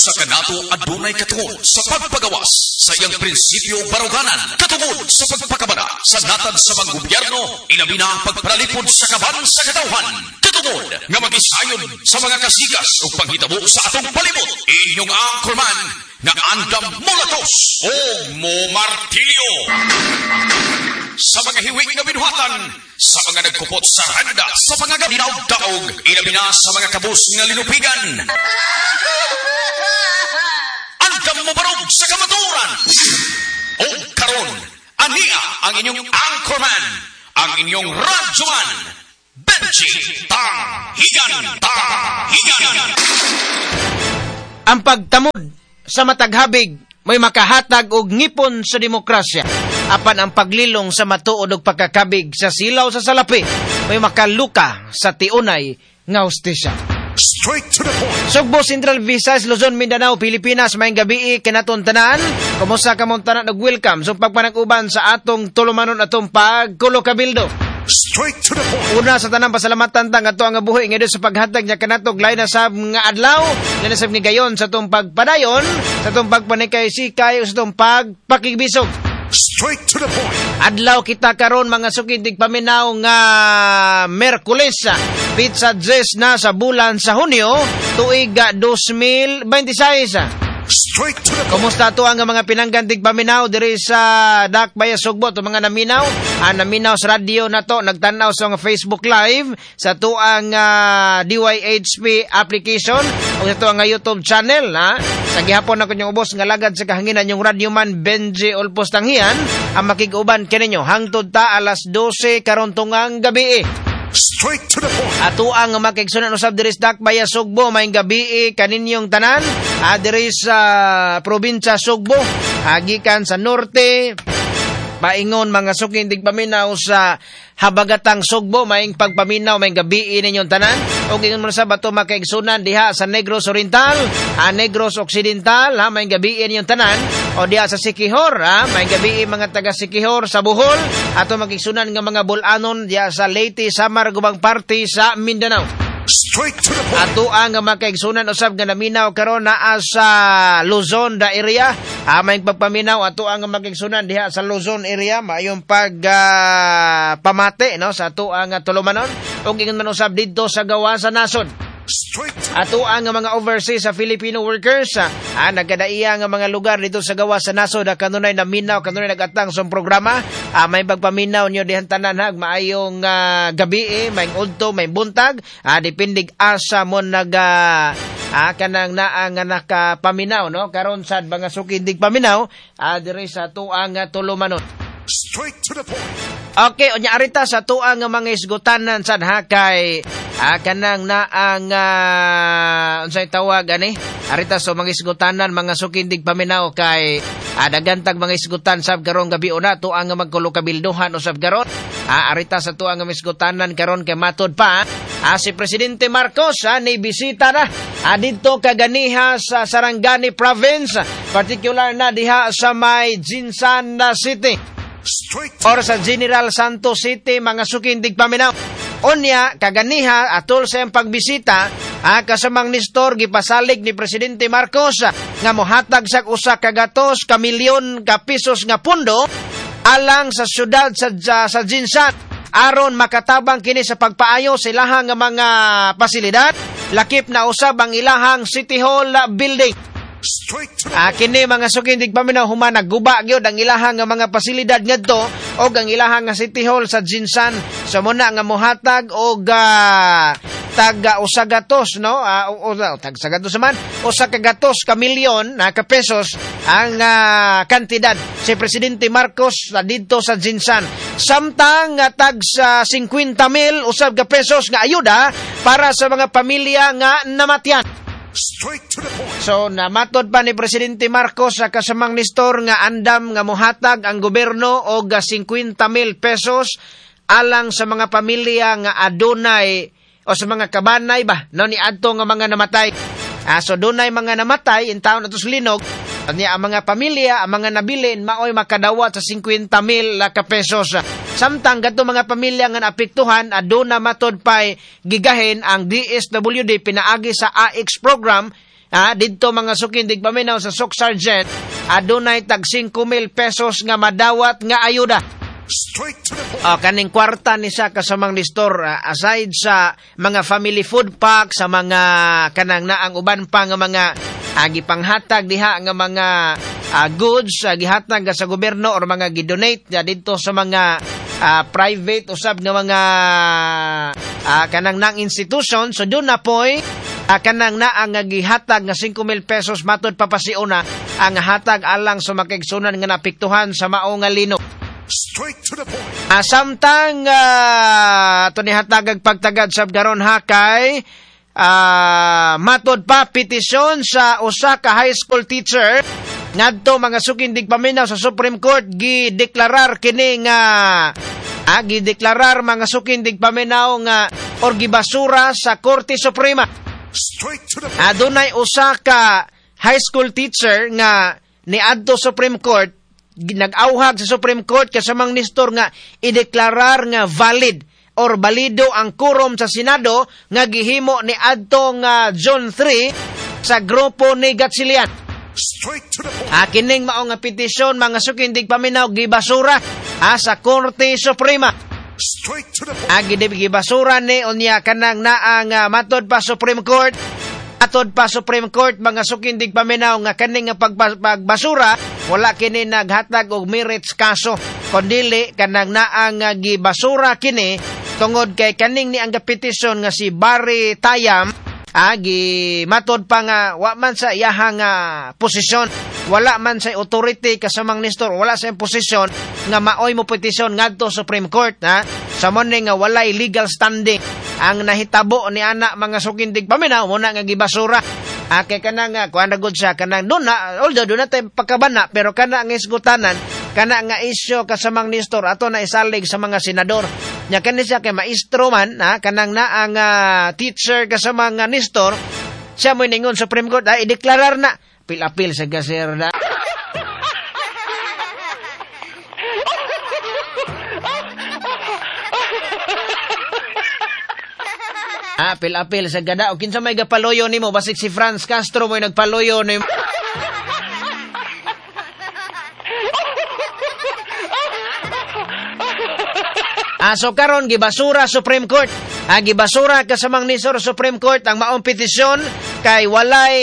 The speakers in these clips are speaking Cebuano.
Usa ka nato adunay katungod sa pagpagawas sa iyang prinsipyo ug baruganan, katungod sa pagpakabara sa natad sa panggobyerno, ilabi na ang pagpanalipod sa kaban sa katawhan, katungod nga magisayod sa mga kasigas ug panghitabo sa atong palibot. Inyong anchorman nga andam molatos o mo martilyo sa mga hiwing nga binuhatan, sa mga nagkupot sa randa, sa mga ginaog-daog, ilabi na sa mga kabus nga linupigan. Andam mo barog sa kamatuoran. O karon, ania ang inyong anchorman, ang inyong radyoman, Benji Tanghigan, Tanghigan. Ang pagtamod sa mataghabig may makahatag og ngipon sa demokrasya. Apan ang paglilong sa matuod og pagkakabig sa silaw sa salapi may makaluka sa tiunay nga hustisya. Straight to the point. Sugbo, Central Visayas, Luzon, Mindanao, Pilipinas, maayong gabii kanaton tanan. Kumusta kamong tanan ug welcome sa pagpanag-uban sa atong tulumanon, atong pagkulo kabildo. Straight to the point. Una sa tanan, pasalamatan ta nga ang buhi nga Dios sa paghatag niya kanatog lain na sab nga adlaw, lain na sab nga gayon sa atong pagpadayon, sa atong pagpanikay sikay, sa atong pagpakigbisog. Straight to the point. Adlaw kita karon, mga suki tigpaminaw, nga Merkules, petsa 10 na sa bulan sa Hunyo, tuig 2026. Straight to the point. Kumusta to ang mga pinanggan tigpaminaw diri sa Dakbaya Sugbo, to mga naminaw, naminaw sa radyo na to, nagtanaw sa mga Facebook Live sa tuang DYHP application o sa tuang YouTube channel, ha? Sa gihapon na kunyong ubos nga lagad sa kahanginan, yung radyoman Benji Olpos Tanghian ang makig-uban kaninyo hangtod ta alas 12 karon tungang gabi. Straight to the point. Ato ang makigsunan usab diri sa Dakbaya Sugbo, maayong gabi kaninyong tanan. Diri sa probinsya Sugbo, gikan sa norte paingon, mga suking tigpaminaw sa habagatang Sugbo, maayong pagpaminaw, maayong gabi ninyong tanan. Ug ingon mo sa bato makaigsunan diha sa Negros Oriental, Negros Occidental, ha, maayong gabi ninyong tanan. O diha sa Siquijor, ha, maayong gabi mga taga Siquijor sa Bohol, ato makigsunan nga mga Bol-anon diha sa Leyte, Samar, gubang parte sa Mindanao. Straight to the point. Ato ang makaigsunan usab nga naminaw karon naa sa Luzon da area. Maayong pagpaminaw ato ang makaigsunan diha sa Luzon area, maayong pag pamati, no, sa ato ang tulumanon ug ingon man usab didto sa gawa sa nasod. Straight to Ato ang mga overseas sa Filipino workers, nagkadaiya nga mga lugar dito sa gawa sa nasod, kanunay naminaw, kanunay nagatang sa programa, may pagpaminaw niyo dihan tanan, ha, maayong gabi, may udto, may buntag, depende asa mo nag kanang naa nga nakapaminaw, no, karon sad, mga suki tigpaminaw, diri sa tuang tulumanon. Straight to the point. Okay, unya arita sa tuang nga mga isgutanan sad, ha, kay kanang naang unsay tawag ani, arita sa mga isgutanan, mga suki tigpaminaw, kay daghan tag mga isgutan sab karong gabi una tuang nga magkulokabilduhan usab karon. Arita sa tuang nga mga isgutanan karon kay matod pa si Presidente Marcos ni bisita na didto kaganiha sa Sarangani Province, particular na diha sa may Gensan City Straight to or sa General Santos City, mga suking tigpaminaw. Unya, kaganiha, atol sa iyang pagbisita, kasamang Nestor, gipasalig ni Presidente Marcos nga mohatag sa 100 ka milyon ka pesos nga pundo alang sa syudad sa Gensan aron makatabang kini sa pagpaayo sa ilahang nga mga pasilidad, lakip na usab ang ilahang City Hall building. Straight to the Kini, mga suking tigpaminaw, human nagguba gyud ang ilahang nga mga pasilidad ngadto og ang ilahang nga City Hall sa Gensan. So muna nga mohatag og tag 100, no, o, tag 100 man, 100 ka milyon na ka pesos ang kantidad si Presidente Marcos na didto sa Gensan. Samtang tag sa 50 mil usab ka pesos nga ayuda para sa mga pamilya nga namatyan. Straight to the point. So namatod pa ni Presidente Marcos sa kasamang Nestor nga andam nga mohatag ang gobyerno og 50 mil pesos alang sa mga pamilya nga adunay o sa mga kabanay ba, no, ni adto nga mga namatay. So dunay mga namatay in taon ato sa linog niya, ang mga pamilya, ang mga nabilin maoy makadawat sa 50 mil ka pesos. Samtang kadto mga pamilya nga naapektuhan, aduna matod pay gigahin ang DSWD pinaagi sa AX program. Didto mga suking digpaminaw sa Soccsksargen, adunay tag 5,000 pesos nga madawat nga ayuda. Straight to the point. Kaning kwarta ni siya kasamang Nestor, aside sa mga family food pack, sa mga kanang naang uban pa nga mga gipanghatag diha nga mga goods, gihatag sa gobyerno or mga gidonate didto sa mga private usab nga mga kanang nang institution. So doon na poy kanang naa nga gihatag nga 5,000 pesos matud papasiuna ang hatag alang sa makigsunan nga napiktuhan sa mao nga lino. Straight to the point. Samtang ato ni hatagag pagtagad sab karon ha kay matod pa petisyon sa usa ka high school teacher ngadto mga suking digpaminaw sa Supreme Court, gideklarar kini nga gideklarar mga suking digpaminaw nga or gibasura sa Korte Suprema. Straight to the point. Adunay usa ka high school teacher nga niadto Supreme Court, nag-auhag sa Supreme Court kasamang Nestor nga ideklarar nga valid or balido ang quorum sa Senado nga gihimo ni adtong June 3 sa grupo ni Gatchalian. Straight to the point. Kining mao nga petisyon mga suking digpaminaw gibasura sa Korte Suprema. Straight to the point. Gibasura ni unya kanang naa nga matod pa Supreme Court. Atod pa Supreme Court mga suking digpaminaw nga kaning nga pagbasura wala kini naghatag og merits kaso, kondili kanang naa nga gibasura kini tungod kay kaning ni ang petisyon nga si Barry Tayam gimatod pa nga wa man sa iyaha nga posisyon, wala man sa authority kasamang Nestor, wala sa posisyon nga maoy mo petisyon ngadto Supreme Court ha. Sa mo ni nga walay legal standing ang nahitabo ni ana mga sukindig paminaw mo na nga gibasura. Kay kanang kuan na gud siya kanang doon na, although doon na tay pagkabana, pero kana ang isgutanan, kana nga isyo kasamang Nestor ato na isalig sa mga senador. Nya kani siya kay maestro man kanang naa nga teacher kasamang Nestor, siya mo'y ningon Supreme Court ideklarar na apil-apil sa gaser na. Apil-apil sa gada. O kinsa may gapaloyo nimo, basig si Franz Castro mo'y nagpaloyo nimo. So karon gibasura Supreme Court. Gibasura kasamang Nestor Supreme Court ang maong petisyon kay walay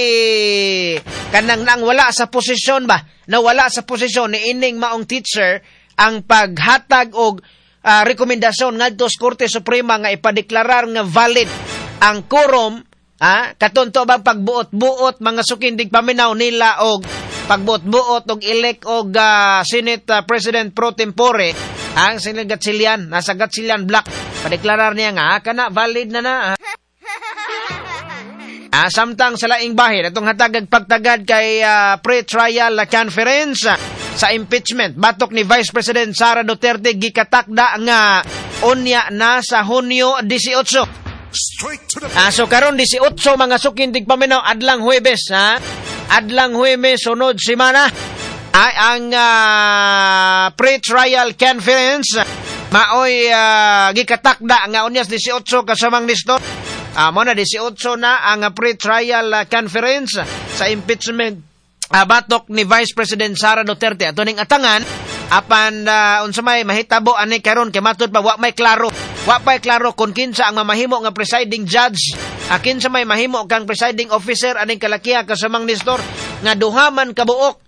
kanang nang wala sa posisyon ba? Nawala sa posisyon ni ining maong teacher ang paghatag og rekomendasyon ngadto sa Korte Suprema nga ipadeklarar nga valid ang quorum, katunto bang pagbuot-buot mga sukindig paminaw nila og pagbuot-buot og elect og Senate President pro tempore ang Senate Gatchalian, nasa Gatchalian block, padeklarar niya nga kana valid na na. Samtang sa laing bahin atong hatagag pagtagad kay pre-trial conference sa impeachment batok ni Vice President Sara Duterte gikatakda nga unya na sa Hunyo 18. Straight to the point. So karon 18 mga sukindig paminaw adlang Huwebes ha. Adlang Huwebes sunod semana ay ang pre-trial conference maoy gikatakda nga unya 18 kasamang Nestor. Mo na 18 na ang pre-trial conference sa impeachment batok ni Vice President Sara Duterte. Ato ning atangan apan unsa may mahitabo ani karon kay matud pa wa may klaro. Wa pay klaro kun kinsa ang mamahimo nga presiding judge, kinsa may mahimo kang presiding officer aning kalakiha kasamang Nestor nga duha man kabuok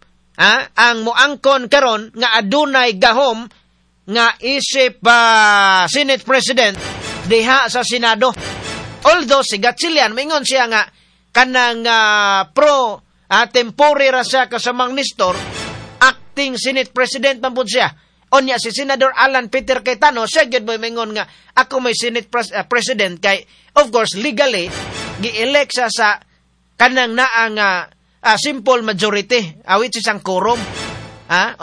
ang moangkon karon nga adunay gahom nga isip Senate President diha sa Senado. Although si Gatchalian mingon siya nga kanang pro tempore ra siya kasamang Nestor, acting Senate President man pud siya. Onya si Senador Alan Peter Cayetano siya gyud moy mingon nga ako may Senate President kay of course legally gi-elect siya sa kanang naa nga simple majority which is ang quorum.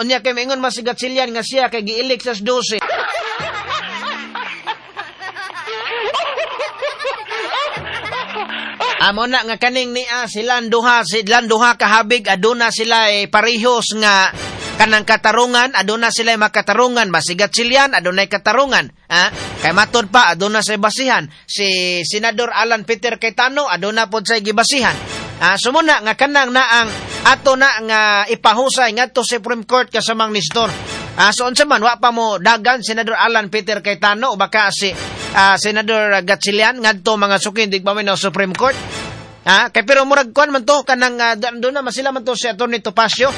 Unya kay mingon man si Gatchalian nga siya kay gi-elect sa 12. Amo na nga kaning niya silang duha kahabig aduna sila parehos nga kanang katarungan, aduna sila makatarungan, masigat silyan adunay katarungan, kay matud pa aduna say basihan si Senador Alan Peter Cayetano aduna pod say gibasihan. Sumuna nga kanang na ang ato na nga ipahusay ngadto sa Supreme Court kasamang Nestor. So unsa man, wa pa mo dagan Senador Alan Peter Cayetano o baka si Senador Gatchalian ngadto mga suki tigpaminaw Supreme Court. Kay pero murag kuan man to kanang doon na masila man to si Attorney Topacio.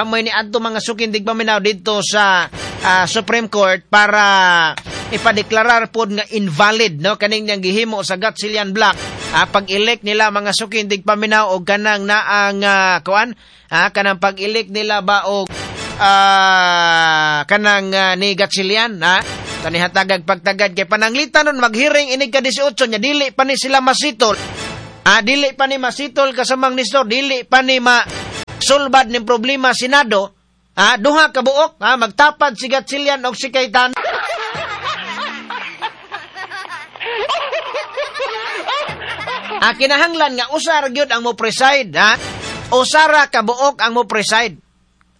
May niadto mga suki tigpaminaw didto sa Supreme Court para ipadeklarar pod nga invalid, no, kaning niyang gihimo sa Gatchalian Block, pag-elect nila mga suki tigpaminaw og kanang naang kuan, kanang pag-elect nila ba og kanang ni Gatchalian, ha. Tanihatagag pagtagad kay pananglitan nun maghearing inig ka 18 nya dili pa ni sila masitol. Dili pa ni masitol kasamang Nestor, dili pa ni ma sulbad ning problema Senado. Duha ka buok, magtapad si Gatchalian og si Cayetano. Kinahanglan nga usar gyud ang mo preside, ha? Usara ka buok ang mo preside.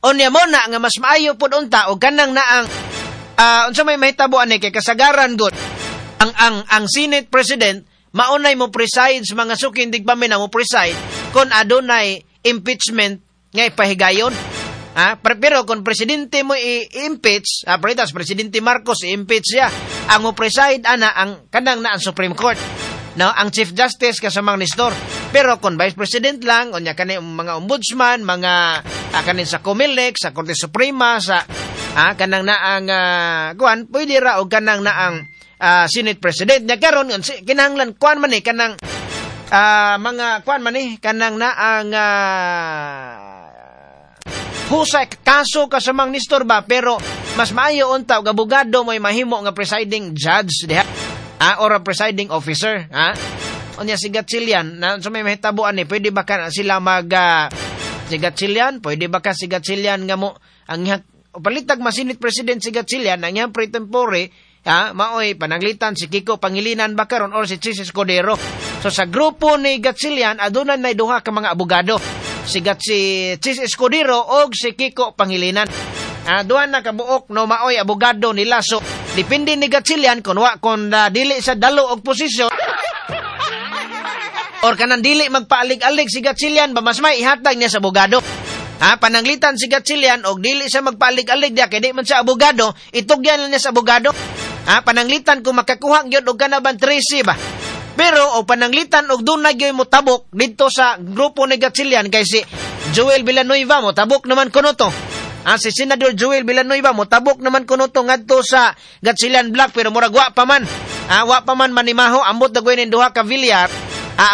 Unya mo na nga mas maayo pud unta og kanang naang unsa may mahitabo ani kay kasagaran gud ang Senate President maunay mo preside sa mga suki tigpaminaw mo preside kon adunay impeachment nga ipahigayon. Pero kung presidente mo i-impeach, pretas Presidente Marcos i-impeach siya, ang mo preside ana ang kanang na ang Supreme Court. No, ang Chief Justice kasamang Nestor. Pero kung Vice President lang, unya kani mga ombudsman, mga kanin sa COMELEC, sa Korte Suprema, sa kanang naang kuan, pwede ra og kanang naang Senate President. Nya karon kinahanglan kuan man ni kanang mga kuan man ni kanang naang husay kaso kasamang Nestor ba, pero mas maayo unta og abogado mo'y mahimo nga presiding judge diha. Or a presiding officer, ha? Unya si Gatchalian, na sa may mahitabuan ni, pwede ba ka sila mag si Gatchalian, pwede ba ka si Gatchalian nga mo ang palitag ma-Senate President si Gatchalian, ang iyang pre-tempore, maoy pananglitan si Kiko Pangilinan ba karon or si Chis Escudero. So sa grupo ni Gatchalian aduna nay duha ka mga abogado, si Chis Escudero og si Kiko Pangilinan. Duha na kabuok, no, maoy abogado nila. So depende ni Gatchalian kun wa kun dili sa dalo og posisyon or kanang dili magpaalig-alig si Gatchalian ba, mas may ihatag niya sa abogado. Pananglitan si Gatchalian og dili siya magpaalig-alig diya kay di man siya abogado, itugyan lang niya sa abogado. Pananglitan kung makakuha gyud og kanaban 13 ba. Pero o pananglitan og dunay gyud motabok didto sa grupo ni Gatchalian kay si Joel Villanueva motabok naman kuno to. Si Senador Joel Villanueva motabok naman kuno to ngadto sa Gatchalian Block, pero murag wa pa man. Wa pa man manimaho, ambot na gawin duha ka Villar.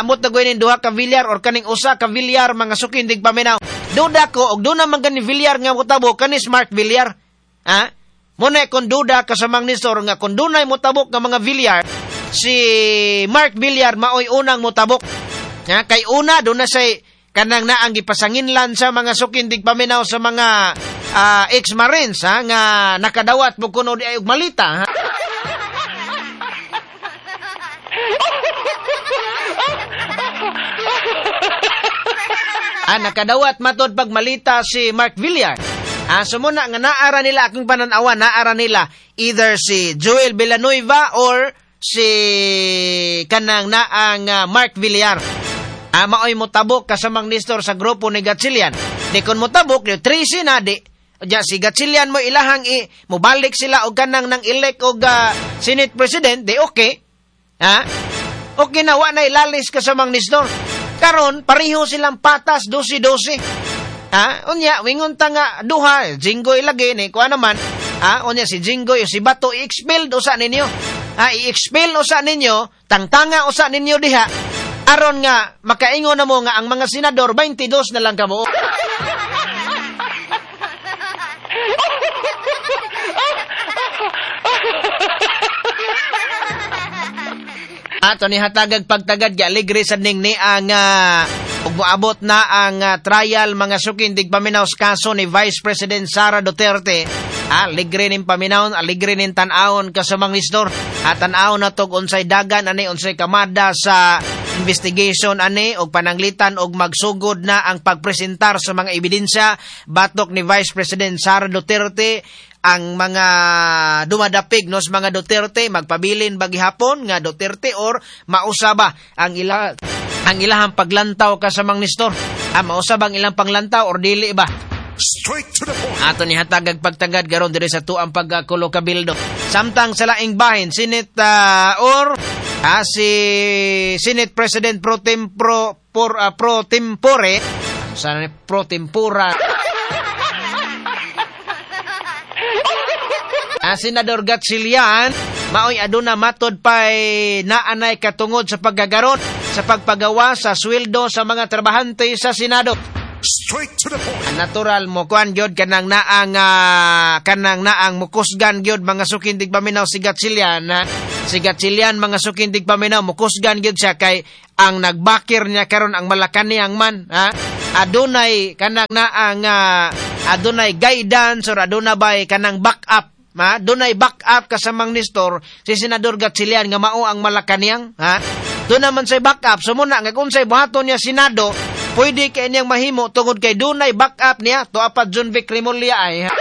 Ambot na gawin duha ka Villar or kaning usa ka Villar mga suki tigpaminaw. Duda ko og duna man gani Villar nga motabok kanis Mark Villar. Muna kon duda kasamang Nestor nga kon dunay motabok nga mga Villar, si Mark Villar maoy unang motabok. Kay una duna say kanang naang gipasanginlan sa mga suki tigpaminaw sa mga ex-marines, nga nakadawat mo kuno di ay og malita. Ha? Nakadawat matod pagmalita si Mark Villar. So muna nga naara nila akong pananawa, naara nila either si Joel Villanueva or si kanang naang Mark Villar. Maoy motabok kasamang Nestor sa grupo ni Gatchalian. Di kon motabok, di 13 na di. Diya si Gatchalian mo ilahang mobalik sila og kanang nang elect og Senate President, di okay. Okay na, wa na ilalis kasamang Nestor. Karon pareho silang patas 12-12. Unya wingon ta nga duha, Jinggoy lagi ni kuan naman. Unya si Jinggoy o si Bato i-expel usa ninyo. I-expel usa ninyo, tangtanga usa ninyo diha. Aron nga makaingon na mo nga ang mga senador 22 na lang kabuok. Ato ni hatagag pagtagad aligre sa ning ni ang ug moabot na ang trial mga suki tigpaminaw sa kaso ni Vice President Sara Duterte. Aligre ning paminawon, aligre ning tan-awon kasamang Nestor. Tan-awon na tog unsay dagan ani, unsay kamada sa investigation ani og pananglitan og magsugod na ang pagpresentar sa mga ebidensya batok ni Vice President Sara Duterte. Ang mga dumadapig no sa mga Duterte magpabilin bagihapon nga Duterte or mausaba ang ila Ang ilahang paglantaw kasamang Nestor. Mausab ang ilang panglantaw or dili ba? Straight to the point. Ato ni hatagag pagtagad karon diri sa tuang pagkulo kabildo. Samtang sa laing bahin, Senate or si Senate President pro temporo por, pro tempore, sana ni pro tempora. Senador Gatchalian maoy aduna matod pay naanay katungod sa paggagaron sa pagpagawa sa sweldo sa mga trabahante sa Senado. Straight to the point. Natural mo kuan gyud kanang naang kanang naang mukusgan gyud mga sukindig paminaw si Gatchalian, ha? Si Gatchalian mga sukindig paminaw mukusgan gyud siya kay ang nagbakir niya karon ang Malacañang man, ha? Adunay kanang naang adunay guidance or aduna bay kanang backup, ha? Dunay backup kasamang Nestor si Senador Gatchalian nga mao ang Malacañang, ha? Doon naman say backup, so muna nga kung say buhaton niya Senado, pwede kay niyang mahimo tungod kay dunay backup niya to apat John Vic Remulla ay.